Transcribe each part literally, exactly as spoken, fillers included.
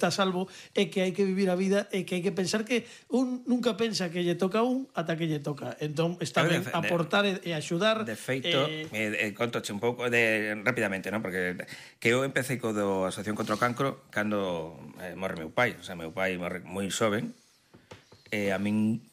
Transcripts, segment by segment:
está salvo é que hai que vivir a vida e que hai que pensar que un nunca pensa que lle toca a un ata que lle toca. Entón está ben aportar e, e axudar. De feito, eh, eh, contoche un pouco de rápidamente, ¿no? Porque que eu empecé co do Asociación contra o Cancro cando eh, morre meu pai, o sea, meu pai morre moi xoven. E eh, a min,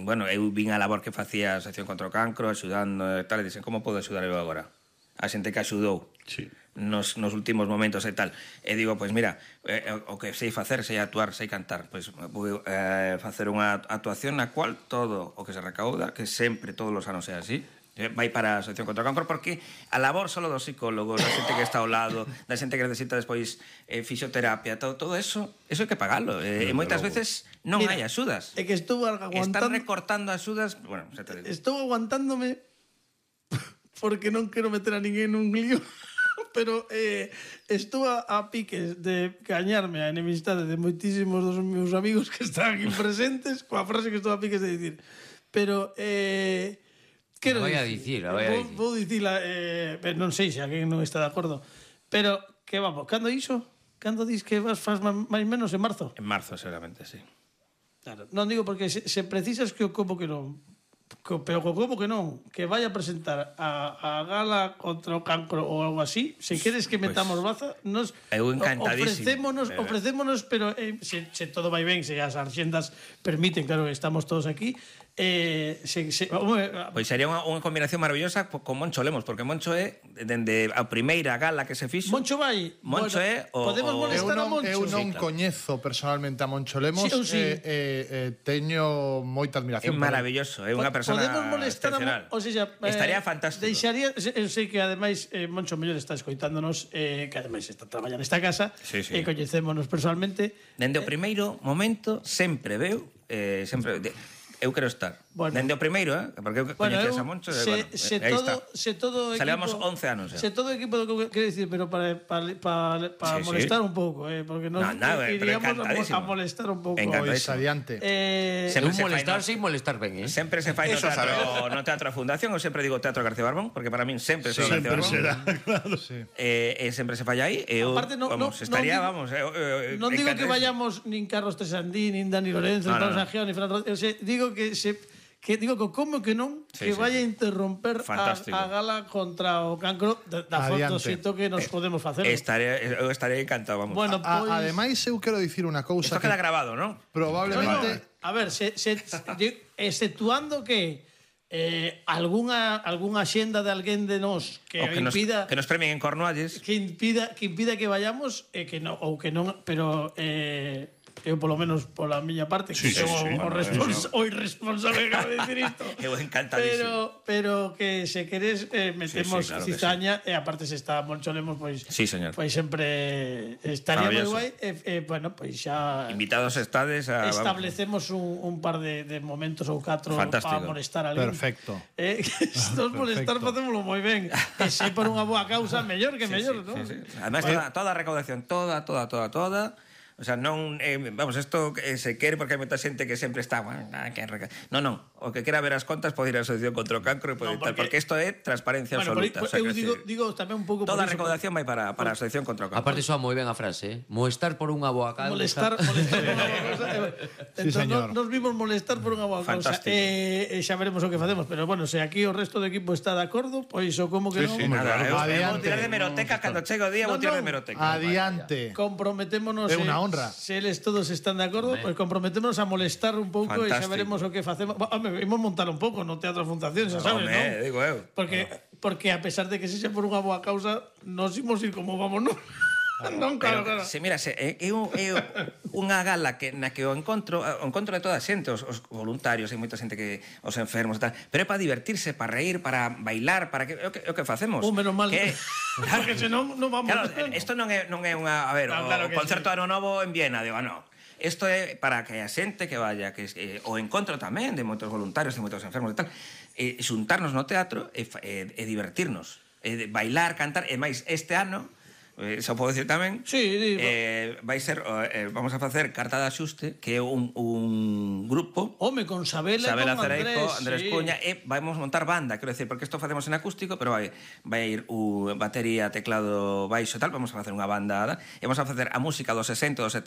bueno, eu vin a labor que facía a Asociación contra o Cancro, axudando e tal, e dixen, como podo axudar eu agora? A xente que axudou. Sí. Nos, nos últimos momentos e tal. E digo, pois mira, eh, o que sei facer, sei actuar, sei cantar, pois vou eh, facer unha actuación na cual todo o que se recauda, que sempre todos os anos é así, eh, vai para a Asociación contra o Cancro, porque a labor solo dos psicólogos, da xente que está ao lado, da xente que necesita despois eh, fisioterapia, todo, todo eso, eso hai que pagalo. Eh, e moitas veces non Mira, hai axudas. É que estou aguantando... Están recortando axudas, bueno, xa te digo. Estou aguantándome porque non quero meter a ninguén nun lío. Pero eh, estou a, a piques de gañarme a enemistade de moitísimos dos meus amigos que están aquí presentes coa frase que estou a piques de dicir. Pero eh, quero voy a dicir, a voy a vou, dicir. vou dicila, eh, non sei se alguén non está de acordo, pero que vamos, cando iso? Cando dis que vas faz máis menos en marzo? En marzo, seguramente, sí. Claro, non digo porque se, se precisas que o como que non. Co, pero como que non, que vaya a presentar a, a gala contra o cancro ou algo así, se queres que metamos pues, baza, nos eu encantadísimo. Ofrecémonos, pero... ofrecémonos, pero eh, se, se todo vai ben, se as arxendas permiten, claro, estamos todos aquí. Eh, se, se, uh, pois sería unha, unha combinación maravillosa con Moncho Lemos, porque Moncho é dende a primeira gala que se fixo. Moncho vai. Moncho bueno, é o, podemos molestar eu non, a Moncho. Eu non sí, claro. coñezo personalmente a Moncho Lemos, sí, sí. Eh, eh, eh, teño moita admiración. É maravilloso, é unha persona podemos molestar excepcional. A, o sea, eh, estaría fantástico. Deixaría, eu sei que ademais eh, Moncho mellor está escoitándonos, eh, que ademais está traballando nesta casa, sí, sí. e eh, coñecémonos personalmente. Dende o primeiro momento sempre veu, eh, sempre de, eu quero estar. Bueno, dende o primeiro, eh? Porque eu bueno, coñecías a Moncho, se, bueno, se aí todo, está. Se todo equipo, Salíamos once anos. Se todo equipo, quero dicir, pero para, para, para, para sí, molestar sí. un pouco, eh, porque nos no, no, iríamos a molestar un pouco. Pois adiante. Eh, un molestar sin molestar ben, eh? Sempre se fai no teatro, no teatro Fundación, eu sempre digo Teatro García Barbón, porque para min sempre sí, será García Barbón. Será, claro. Sí. Eh, eh, sempre se fai aí, e eu, aparte, no, vamos, no, estaría, no, vamos, eh, eh, non digo que vayamos nin Carlos Tresandín, nin Dani Lorenzo, nin no, Pablo no. Sanjeo, nin Fran Rodríguez, o sea, digo que se que digo que como que non sí, que sí, vaya a interromper a, a gala contra o cancro da, da foto xito que nos eh, podemos facer. Estaré, eu estaré encantado, vamos. Bueno, a, pois... Ademais, eu quero dicir unha cousa. Isto queda grabado, non? Probablemente... No, no, a ver, se, se, exceptuando que eh, algunha algunha xenda de alguén de nós que, que impida nos, que nos premien en Cornualles, que impida que impida que vayamos e eh, que no ou que non, pero eh eu polo menos pola miña parte que sí, son sí, sí, o, bueno, respons o irresponsable que acabo de decir isto. Eu encantadísimo. Pero pero que se queres eh, metemos sí, sí, claro cizaña sí. E aparte se está Moncho Lemos pois sí, señor. Pois sempre estaría moi guai e eh, bueno, pois xa invitados estades a establecemos un, un par de, de momentos ou catro para molestar a alguén. Perfecto. Eh, estos molestar facémolo moi ben. E se por unha boa causa mellor que sí, mellor, sí, ¿no? Sí, sí. Además toda, toda a recaudación, toda, toda, toda, toda. O sea, non, eh, vamos, isto eh, se quere porque hai moita xente que sempre está, bueno, que reca... non, non, o que quera ver as contas pode ir á Asociación contra o Cancro e pode no, porque... tal, porque isto é transparencia bueno, absoluta. Por, o sea, eu digo, digo tamén un pouco toda por a recaudación vai para, para a Asociación contra o Cancro. Aparte soa moi ben a frase, eh? Molestar por unha boa causa. Molestar, molestar por unha boa causa. Sí, señor. Nos vimos molestar por unha boa causa. E eh, xa veremos o que facemos, pero bueno, se aquí o resto do equipo está de acordo, pois o como que sí, non. Sí, nada, eu, eu vou tirar de meroteca, cando chego o día vou tirar de meroteca. Adiante. Comprometémonos. É unha honra. Se eles todos están de acordo, pois pues comprometémonos a molestar un pouco e xa veremos o que facemos. Home, imos montar un pouco no Teatro Fundación, xa sabes, non? Digo eu. Porque porque a pesar de que sexa por unha boa causa, nos imos ir como vamos, non? Non, claro, claro. Se mira, se, é, é, é unha gala que, na que o encontro o encontro de toda a xente, os, os voluntarios, hai moita xente que os enfermos e tal, pero é para divertirse, para reír, para bailar, para que é o que, é o que facemos. Un menos mal. Que, claro, porque senón non vamos. Claro, isto non é non é unha, a ver, no, o, claro o concerto sí. Ano Novo en Viena, digo, non. Isto é para que a xente que vaya, que eh, o encontro tamén de moitos voluntarios, de moitos enfermos e tal, e xuntarnos no teatro e, e, e divertirnos, e bailar, cantar, e máis este ano eh, xa podo dicir tamén. Sí, di, eh, vai ser, eh, vamos a facer Carta de Axuste, que é un, un grupo home, con Sabela, Sabela e con Cereijo, Andrés, Andrés sí. Cuña, e vamos montar banda, quero decir, porque isto facemos en acústico, pero vai vai ir o batería, teclado, baixo e tal, vamos a facer unha banda, e vamos a facer a música dos sesenta, dos